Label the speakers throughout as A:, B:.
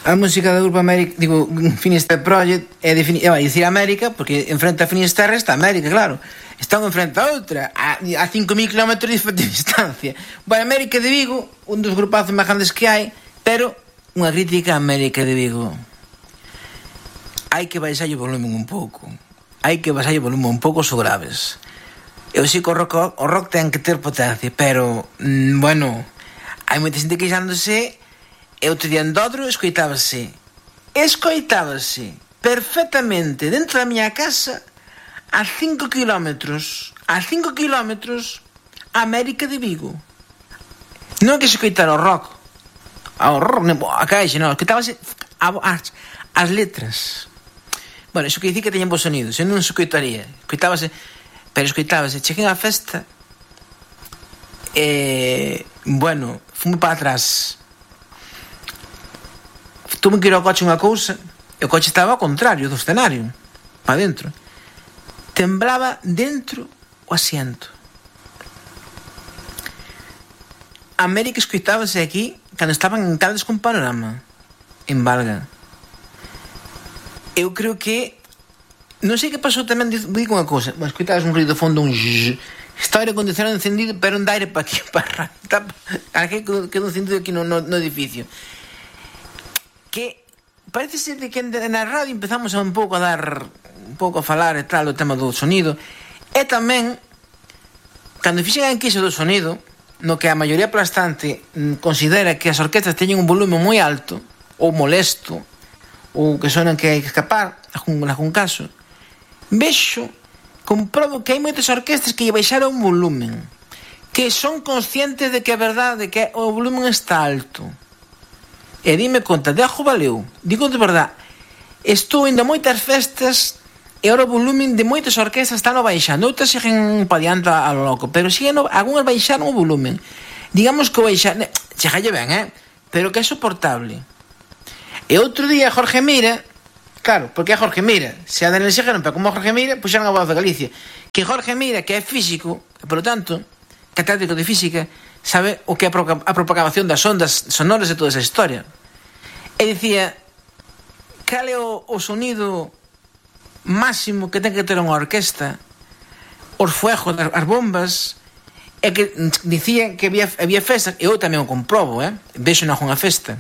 A: A música do grupo América, digo, Finisterre Project vai dicir América, porque enfrente a Finisterre está América, claro. Están enfrente a outra, a 5.000 km de distancia. Vai América de Vigo, un dos grupazos máis grandes que hai, pero unha crítica a América de Vigo. Hai que baixar o volumen un pouco. Hai que baixar o volumen un pouco os graves. Eu sei que o rock ten que ter potencia, pero, bueno, hai moita xente queixándose. Eu te di Andodro, escoitábase perfectamente dentro da miña casa a 5 kilómetros a América de Vigo. Non é que se escoitara o rock, a caixa, non, escoitábase as letras. Bueno, iso que dicir que teñen bons sonidos, eu non se escoitaría, escoitábase, cheguei á festa, bueno, fume para atrás. Tuve que ir ao coche unha cousa, e o coche estaba ao contrario do escenario, para dentro. Temblaba dentro o asiento. América escoitábase aquí cando estaban en Caldes con Panorama, en Valga. Eu creo que non sei que pasou tamén, digo unha cousa, escoitabas un ruido de fondo, un zzz, está o aire acondicionado encendido, pero non dá aire para aquí, para aquí, quedou encendido aquí no edificio. Que parece ser de que na radio empezamos un pouco a falar e tal do tema do sonido, e tamén cando fixen a enquisa do sonido, no que a maioría aplastante considera que as orquestas teñen un volumen moi alto ou molesto, ou que sonan que hai que escapar en algún caso, comprobo que hai moitas orquestas que lle baixaron un volumen, que son conscientes de que é verdade, de que o volumen está alto. E dime conta, de algo valeu. Digo de verdade, estou indo a moitas festas e ora o volumen de moitas orquestas están baixando, outras siguen pa diante a lo loco, pero siguen, algunhas baixaron o volumen. Digamos que o baixar, chegalle ben, pero que é soportable. E outro día Jorge Mira, claro, porque é Jorge Mira, se a Daniel Segeron, pero como Jorge Mira, puxeron a Voz de Galicia, que Jorge Mira, que é físico, e polo tanto, catedrático de física, sabe o que é a propagación das ondas sonoras e toda esa historia. E dicía, cal é o sonido máximo que ten que ter unha orquesta, os fuegos, as bombas, e que dicían que había festas, e eu tamén o comprobo, vexo na unha festa,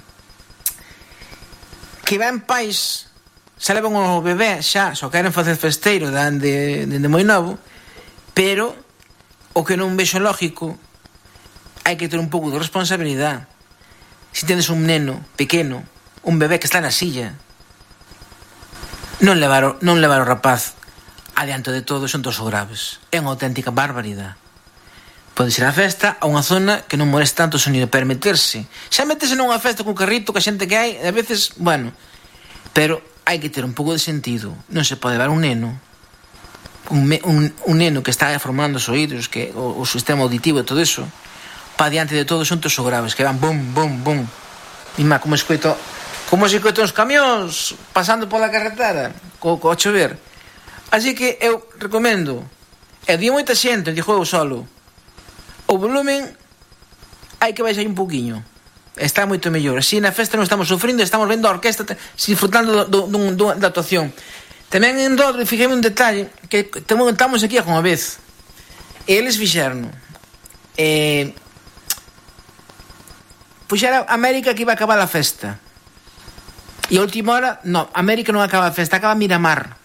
A: que van pais, se levan o bebé xa, só queren facer festeiro dende moi novo, pero o que non vexo lógico, hai que ter un pouco de responsabilidade. Se tendes un neno pequeno, un bebé que está na silla, non levar o rapaz adiante de todo, son todos graves. É unha auténtica barbaridade. Pode ser a festa a unha zona que non moleste tanto o sonido, permitirse. Xa metese nunha festa con carrito, que a xente que hai, a veces, bueno, pero hai que ter un pouco de sentido. Non se pode levar un neno, un neno que está formando os oídos, que o sistema auditivo e todo eso, pa diante de todo, son todos graves, que van bum, bum, bum. E má, como se escoito os camións pasando pola carretera co chover. Así que eu recomendo, e di moita xente, dixo eu solo, o volumen hai que baixar un pouquiño, está moito mellor. Así na festa non estamos sufrindo, estamos vendo a orquesta disfrutando da actuación. Tamén en Dodro fixeme un detalle que estamos aquí unha vez, e eles fixeron puxera América que iba a acabar a festa, e a última hora América non acaba a festa, acaba Miramar,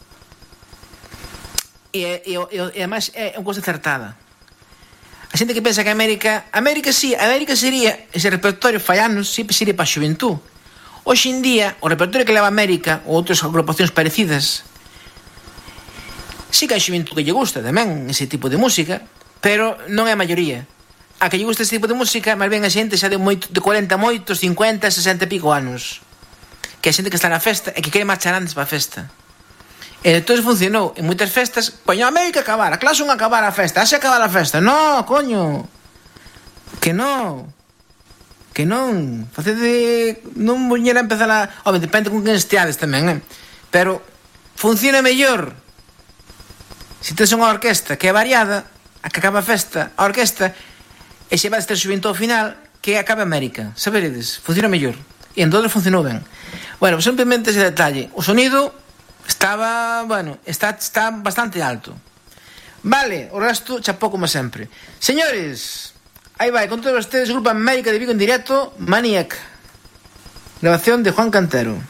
A: e además é unha cousa acertada. A xente que pensa que América sería ese repertorio fallanos, sempre sería para a xuventud. Hoxe en día o repertorio que leva América ou outras agrupacións parecidas, sí que hai xuventud que lle gusta tamén ese tipo de música, pero non é a maioría. A que lle gusta ese tipo de música, máis ben a xente xa de 40 moitos, 50, 60 e pico anos, que a xente que está na festa e que quere marchar antes para a festa. E entón funcionou en moitas festas. Poño a América acabar, a clase 1 acabar a festa, haxe acabar a festa. No, coño, que non facede, non voñera a empezar a... Home, depende con quen esteades tamén, pero funciona mellor se tens unha orquesta que é variada, a que acaba a festa, a orquesta, e se vai ter xuventud ao final, que acabe América, saberedes, funciona mellor. E en todo funcionou ben. Bueno, simplemente ese detalle. O sonido estaba, bueno, está bastante alto. Vale, o resto chapó como sempre. Señores, aí vai, con todos ustedes, Grupo América de Vigo en directo, Maniac. Grabación de Juan Cantero.